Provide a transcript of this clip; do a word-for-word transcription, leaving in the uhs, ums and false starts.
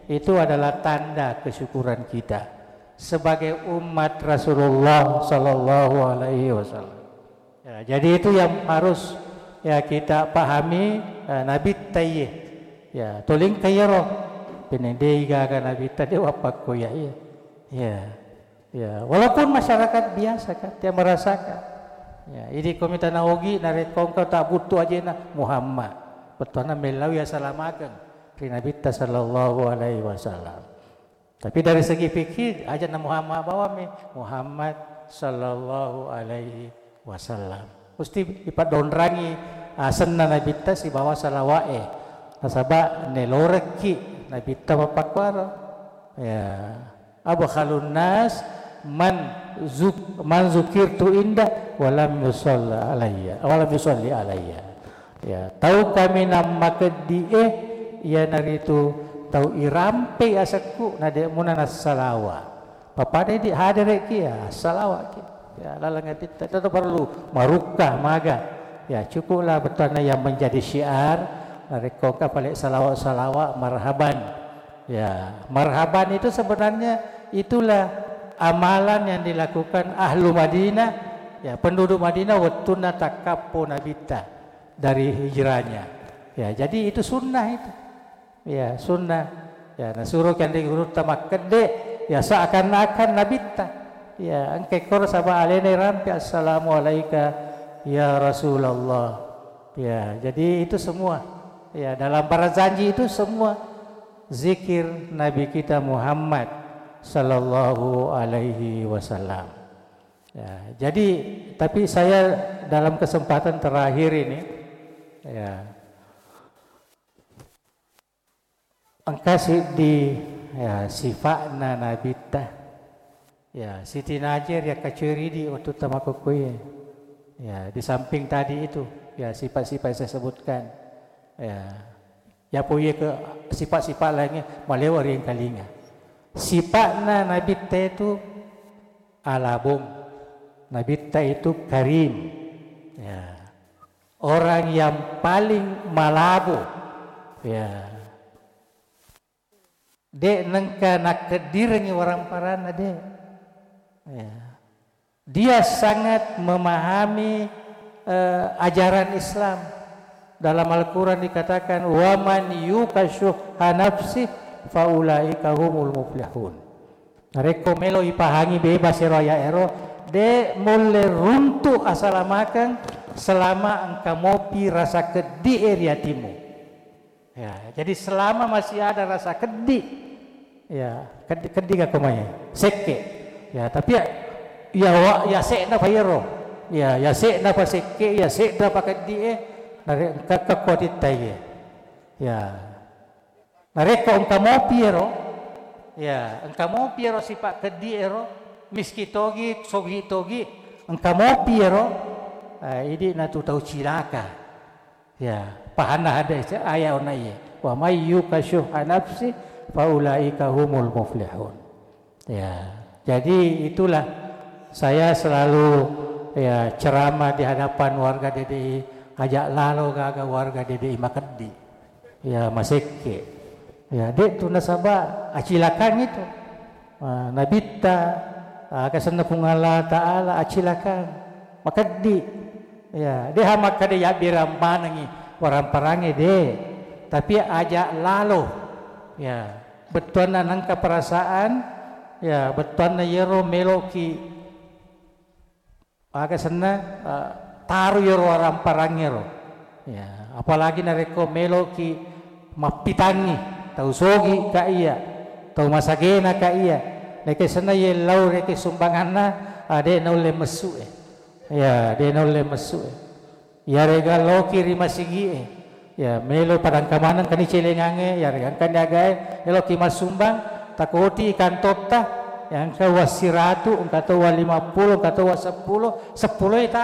Itu adalah tanda kesyukuran kita sebagai umat Rasulullah sallallahu alaihi wasallam. Ya, jadi itu yang harus, ya, kita pahami, eh, Nabitta iye. Ya, tolingka iyaro. Penedei gaga Nabitta de wappakko ya, iya. Ya. Ya, walaupun masyarakat biasa kan, dia merasakan. Ya, idi ko mitana ogi narekko engka tak butuh aja na Muhammad. Bettuanna mellau ya salamakeng ri Nabitta sallallahu alaihi wasallam. Tapi dari segi fikih, aja na Muhammad bawami, Muhammad sallallahu alaihi wasallam. Mesti ipadonrangi asenna Nabitta sibawa salawa'e. Nasaba nelorekki Nabitta mappakuaro. Ya. Abkhalun nas man zuk-, man zukirtu inda walam yusalli alayya, walam yusalli alayya. Ya, tau kaminang makeddi'e iyanaritu tau irampe asekku na de muna nassalawa. Papadai di haderekki ya, salawaki. Ya, laleng atitta itu perlu marukka maga. Ya, cukuplah bettuanna yang menjadi syiar. Narekko engka pale salawa-salawa marhaban. Ya, marhaban itu sebenarnya itulah amalan yang dilakukan ahlu Madinah, ya, penduduk Madinah wettunna takkappo Nabitta dari hijrahnya. Ya, jadi itu sunnah itu. Ya, sunnah. Ya, nasuro kianre gurutta makkedde, ya, seakan-akan Nabitta. Ya, engka koro saba alena rampe, "Assalamu alaika ya Rasulullah." Ya, jadi itu semua. Ya, dalam para janji itu semua zikir Nabi kita Muhammad sallallahu alaihi wasallam. Ya, jadi, tapi saya dalam kesempatan terakhir ini, ya, engka siddi, ya, sifa'na Nabitta. Ya, Siti Najer ya kacueridi waktu tamakukkuye. Ya, di samping tadi itu, ya, sifat-sifat yang saya sebutkan. Ya. Yapo iye ke sifat-sifat lainnya malewa ri engkalinga. Sifa'na Nabitta itu alabung. Nabitta itu karim. Ya. Orang yang paling malabo. Ya. De nengka nakkeddirengi waramparanna, de. Ya. Dia sangat memahami, eh, ajaran Islam. Dalam Al-Quran dikatakan, "Wa man yuqa syuhha nafsih faulaika humul muflihun." Narekko melo ipahangi bebas ero ayat ero, de mulle runtu asalamakeng selama engka mopi rasa keddi e ri atimu. Ya, jadi selama masih ada rasa keddi, ya, keddi, keddi gakko mai, sekke. Ya, tapi ya, ya, wa-, ya se'na pa iyaro. Ya, ya se'na pa sekke, ya se'na pa keddi e, nare-, engka, engka kuatitta iye. Ya. Narekko engka mopi ero, ya, engka mopi ero sipa keddi ero, miski togi, sogi togi, engka mopi ero, eh, idi natu tau cilaka. Ya, pahanna hadis, ayat onna iye. "Wa may yuqa syuhha nafsi fa ulaika humul muflihun." Ya, jadi itulah saya selalu, ya, ceramah di hadapan warga D D I, ajak lalo gaga warga D D I makeddi. Ya, masekke. Ya, de tu nasaba acilakang itu. Ah, Nabitta, ah, aga senna Puang Allah Ta'ala acilakang. Makeddi. Ya, deha makkeda yabbirang manengi waramparangnge, de. Tapi aja lalo. Ya, bettuanna nengka perasaan, ya, bettuanna yero meloki Aga senna, eh, taru yero waramparangnge ro. Ya, apalagi narekko meloki mappitangngi, tau sogi ka iya, tau masagena ka iya. Neke senna yellau reke sumbanganna, ah, de naulle messu e. Ya, de naulle messu e. Yarega loki ri masigi e. Ya, melo padangka maneng kani celengangnge, yarega engkani agae, eloki massumbang, takoti kantotta, ya, engka uang siratu, engka to uang lima puluh, engka to uang seppulo, seppulo e ta-,